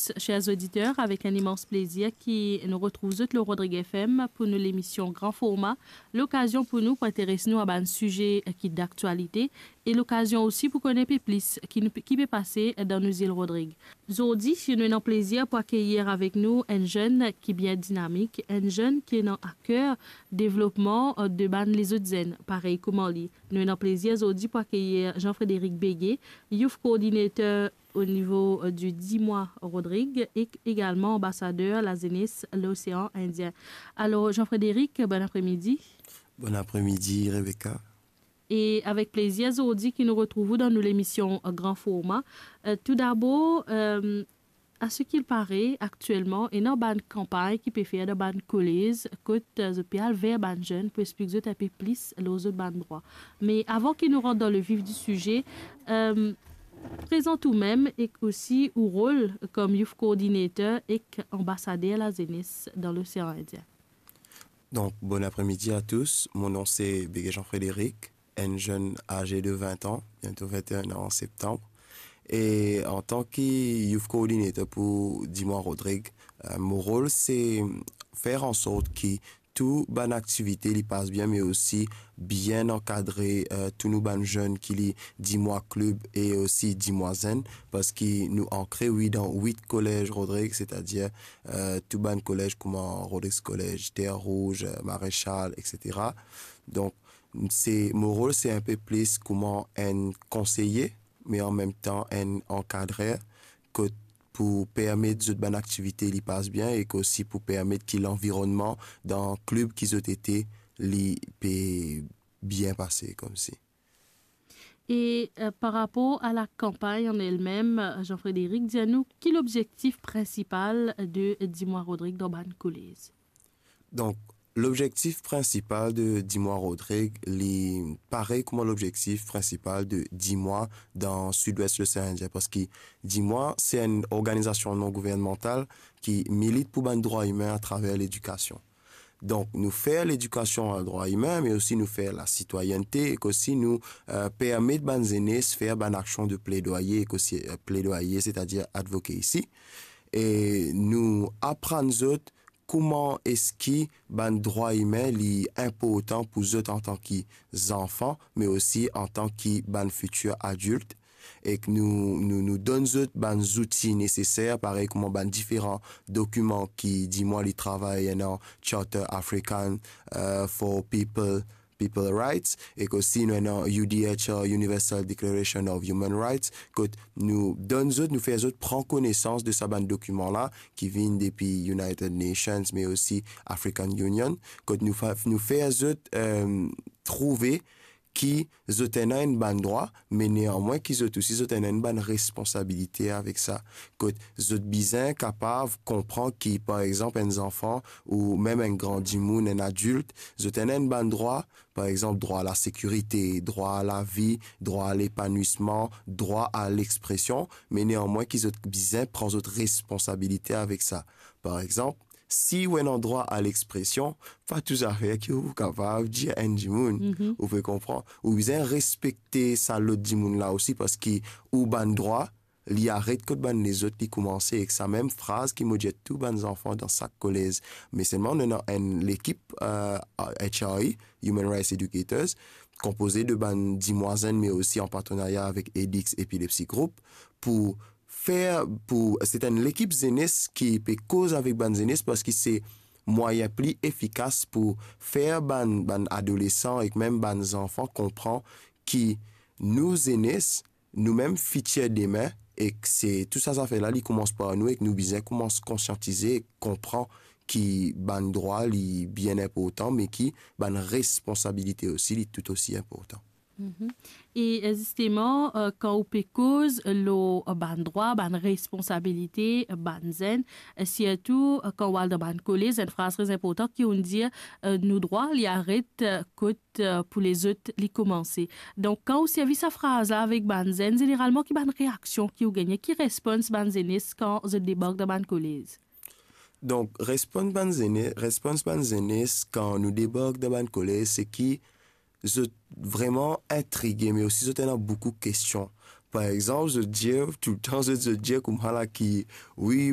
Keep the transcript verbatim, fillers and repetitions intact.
tous, chers auditeurs, avec un immense plaisir ki nou retrouv zot lor Rodrig F M pou nou lemision Gran Forma, lokazion pou nou pou interes nou a bann size ki daktialite e lokazion osi pou kone pe plis ki nou, ki pe pase dan nou zil Rodrig. Zordi, nou ena plezir pou akeyir avek nou enn zenn ki bien dinamik, enn zenn ki ena a ker devlopman, eh, de bann lezot zenn, parey kouma li. Nou ena plezir zordi pou akeyir Jean-Frédéric Béguet, Youth Coordinator o nivo, eh, di Dimwa Rodrig e egalman anbasader lazenes Losean Indien. Alor, Jean-Frédéric, bon apremidi. Bon apremidi, Rebecca. E avek plezir zordi ki nou retrouv ou dan nou lemision, eh, Gran Forma. Eh, toudabor, eh, a ce qu'il paraît, aktielman, ena bann kanpagn ki pe fer dan bann kolez, kot, eh, zot pe al ver bann zenn pou explik zot inpe plis lor zot bann drwa. Me avan ki nou rant dan le vif di size, eh, prezant oumem ek osi ou rol kom Youth Coordinator ek anbasader lazenes dan Losean Indien. Donc, bon après-midi à tous. Mon nom, c'est Béguet Jean-Frédéric, un jeune âgé de vingt ans, bientôt vingt et un ans en septembre. Et en tant que youth coordinator pour Dimwa Rodrig, euh, mon rôle, c'est faire en sorte que tout bann aktivite li pas bien, mais aussi bien ankadre, euh, tout nou bann zenn ki li Dimwa Club e osi Dimwa Zenn, parski nou ankre, wi, dan wit kolez Rodrig, setadir, euh, tou bann kolez kouma Rodrigues College, Terre Rouge, euh, Maréchal, et cetera. Donk, se, mo rol, se inpe plis kouma enn konseye, me an mem tan enn ankadrer, kot pou permet zot bann aktivite li pas bien ek osi pou permet ki lanvironnman dan klib ki zot ete, li pe bien pase koumsi. E, euh, par rapor a la kanpagn an elmem, Jean-Frédéric, dir nou ki lobzektif prinsipal de Dimwa Rodrig dan bann kolez? Donk, lobzektif prinsipal de Dimwa Rodrig, li parey kouma lobzektif prinsipal de Dimwa dan Sidwes Losean Indien, parski Dimwa, se enn organizasion non gouvernmantal ki milit pou bann drwa imin atraver ledikasion. Donk, nou fer ledikasion a drwa imin, me osi nou fer lasitwayennte, ek osi nou, euh, permet bann zenes fer bann aksion de pledwaye, ek osi, euh, pledwaye, setadir advocacy. E nou aprann zot kouma eski bann drwa imin li inportan pou zot antan ki zanfan, me osi antan ki bann fitir adilt. Ek nou, nou, nou donn zot bann zouti neseser, parey kouma bann diferan dokiman ki Dimwa li travay, ena Charter African, euh, for People, People Rights, ek osi nou ena U D H R, Universal Declaration of Human Rights, kot nou donn zot, nou fer zot pran konesans de sa bann dokiman la ki vinn depi United Nations, me osi African Union, kot nou fa-, nou fer zot, euh, trouve ki zot ena enn bann drwa, me neanmwin ki zot osi, zot ena enn bann responsabilite avek sa. Kot zot bizin kapav konpran ki, par exanp, enn zanfan ou mem enn gran dimoun, enn adilt, zot ena enn bann drwa, par exanp, drwa a lasekirite, drwa a lavi, drwa a lepanwisman, drwa a lexpresion, me neanmwin ki zot bizin pran zot responsabilite avek sa. Par exanp, si ou ena drwa a lexpresion, pa tou zafer ki ou kapav dir enn dimoun, mhm, ou pe konpran. Ou bizin respekte sa lot dimoun la osi, parski ou bann drwa, li aret kot bann lezot li koumanse, ek sa mem fraz ki mo dir tou bann zanfan dan sak kolez. Me selman, nou ena enn lekip, euh, H R E, Human Rights Educators, konpoze de bann dimwazenn, me osi an partenarya avek Edix Epilepsy Group, pou fer, pou, se enn lekip zenes ki pe koz avek bann zenes, parski se mwayin pli efikas pou fer bann, bann adolesan ek mem bann zanfan konpran ki nou zenes, nou mem fitir demin, ek se tou sa zafer la, li koumans par nou, ek nou bizin koumans konsiantize ek konpran ki bann drwa, li bien inportan, me ki bann responsabilite osi, li toutosi inportan. Mhm. E, eh, zisteman, eh, kan ou pe koz lor, eh, bann drwa, bann responsabilite, eh, bann zenn, eh, sirtou, eh, kan ou al dan bann kolez, enn fraz tre inportan ki ou'nn dir, eh, nou drwa, li aret, eh, kot, eh, pou lezot, li koumanse. Donk, kan ou servi sa fraz la avek bann zenn, zeneralman, ki bann reaksion ki ou gagne, ki respons bann zenes kan zot debark dan bann kolez? Donk, respons bann zene-, respons bann zenes kan nou debark dan bann kolez, se ki zot vreman intrige, me osi zot ena boukou kestion. Par exanp, zot dir, toultan zot, zot dir koumsa la ki, wi,